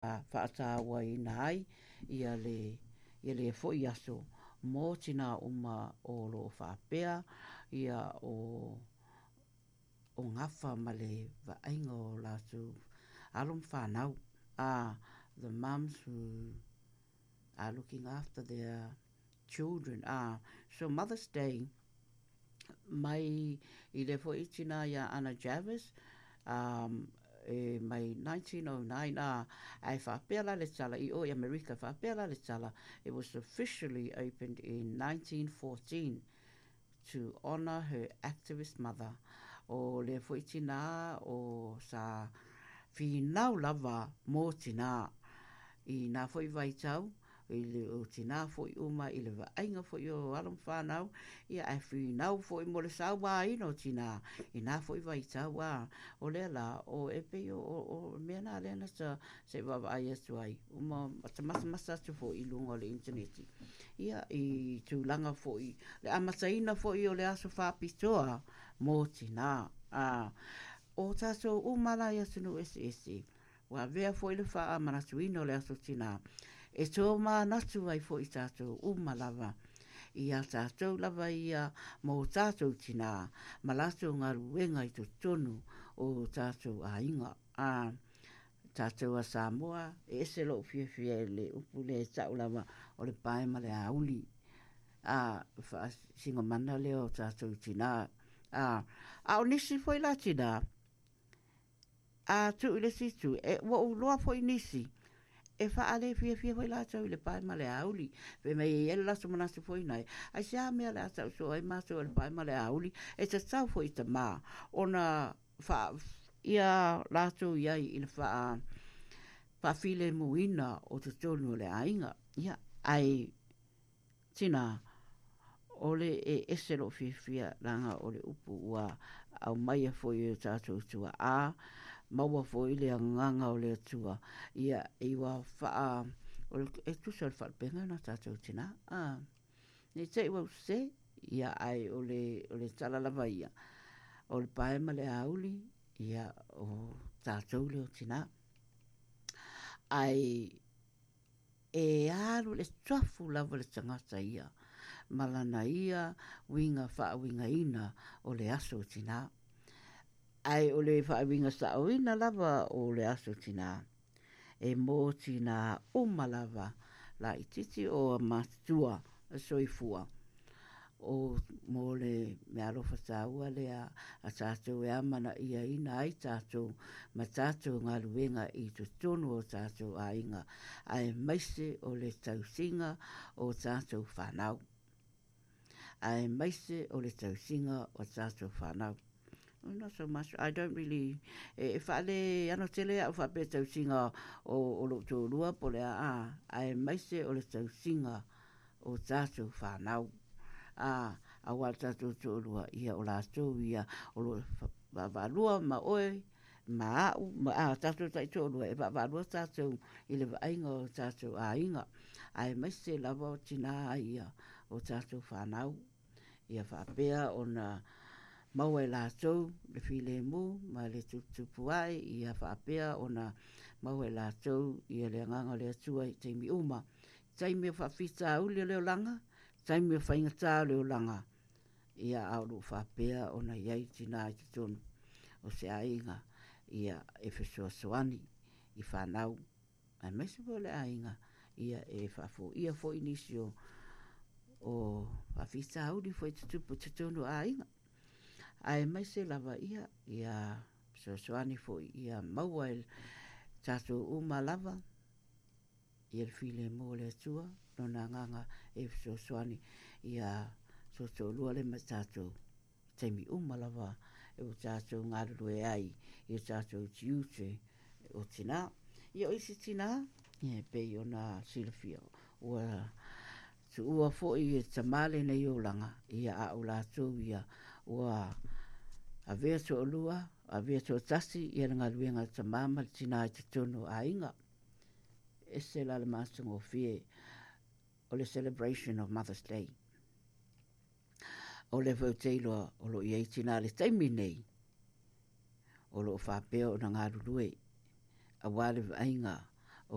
Faatauaina ai ia le ia lea foi aso mo tinā uma o lo o faapea ia o o gafa ma le vaaiga o latou alo ma fanau, the mums who are looking after their children. So Mother's Day mai i lea foi tinā iā Anna Jarvis, e mai 1909, ā, ae faapea la le tala i o i Amerika, faapea la le tala, it was officially opened in 1914 to honour her activist mother. O lea foi tinā o sa finau lava mō tinā i nā foi vaitau, i le o tinā foi uma i le vaaiga foi o alo ma fanau, ia ae finau foi mo le sauaina o tinā i nā foi vaitau a o lea la o e pei o o o mea nā lea na ta se i vaavaai atu ai uma ta matamata atu foi i luga o le initaneti ia i tulaga foi le amataina foi o le aso faapitoa mō tinā a o tātou uma la i atunuu eseese Ua avea foi le faamanatuina o le Aso Tinā e tōmanatu ai foi tātou uma lava i a tātou lava ia mō tātou tinā ma latou galuega i totonu o tātou aiga. Ā, tātou a Samoa, e ese lou fiafia i le upu lea e tau lava o le pae ma le auli. Ā, faasingomana lea o tātou tinā. Ā, a o nisi foi la tinā, A tuu i le isi itu, e, ua ou iloa foi nisi, e faale fiafia foi latou i le pae ma le auli. Fai mai e i ai le latou manatu foi nai, aisea mea o le a tau soo ai matou e le pae ma le auli, e tatau foi i tamā ona faa, ia latou i ai i le faa, faafilemuina o totonu o le aiga. Ia, ae Tina, o le e ese lou fiafia leaga o le upu ua aumaia foi e o tatou tuaa, maua foi le agaga o le Atua, ia i ua faa, o le, e tusa o le faalupega lena tatou tina, a, ne i te i ua ou sese, ia ae o le, o le tala lava ia, o le pae ma le auli, ia o tatou lea o tina. Ae E alu le tuafu lava le tagata ia ma lana ia uiga faauigaina o le aso tinā. Ae o le faauiga saoina lava o le aso tinā, e mō tinā uma lava laitiiti o matutua soifua. O mō le meaalofa tāua lea a tātou e amanaiaina ai tātou ma tātou galuega i totonu o tātou aiga, aemaise o le tausiga o tātou whanau. Aemaise o le tausiga o tātou whanau. Oh, not so much. I don't really... E, e whaale ano tele au whapea tausiga o, o lou tōrua po le a, aemaise o le tausiga o tātou whānau. Ā, aua le tātou toʻolua, ia o lātou ia o lo o vaavaalua ma oe, ma aʻu, ma ā tātou taitoʻolua, e vaavaalua tātou i le vaaiga o tātou aiga, aemaise lava o tinā ia o tātou whānau, ia faapea ona maua e lātou le filemu ma le tuputupu ae, ia faapea ona maua e lātou ia le agaga o le Atua i taimi uma. Taimi o faafitauli o le olaga, taimi o faigata o le olaga, ia a o loo faapea ona i ai tinā i totonu o se aiga, ia e fesoasoani i whanau, aemaise foi o le aiga, ia e faafoia foi nisi o o faafitauli foi tutupu i totonu o aiga. Aemaise lava ia, ia fesoasoani foi ia maua e tatou uma lava, ia le filemu o le Atua, Lona Agaga e fesoasoani ia toatoalua lea ma tatou i taimi uma lava e ua tatou galulue ai i o tatou tiute o tinā. Ia o isi tinā, ia e pei ona silafia, ua tuua foi e tamā lenei olaga, ia a o latou ia ua avea toalua, avea toatasi ia le galuega a le tamā ma le tinā i totonu o aiga. Ese la le matagofie o le celebration of Mother's Day. O lea foi ou te iloa o lo o i ai tinā i le taimi nei o lo o faapea ona galulue aua le vaaiga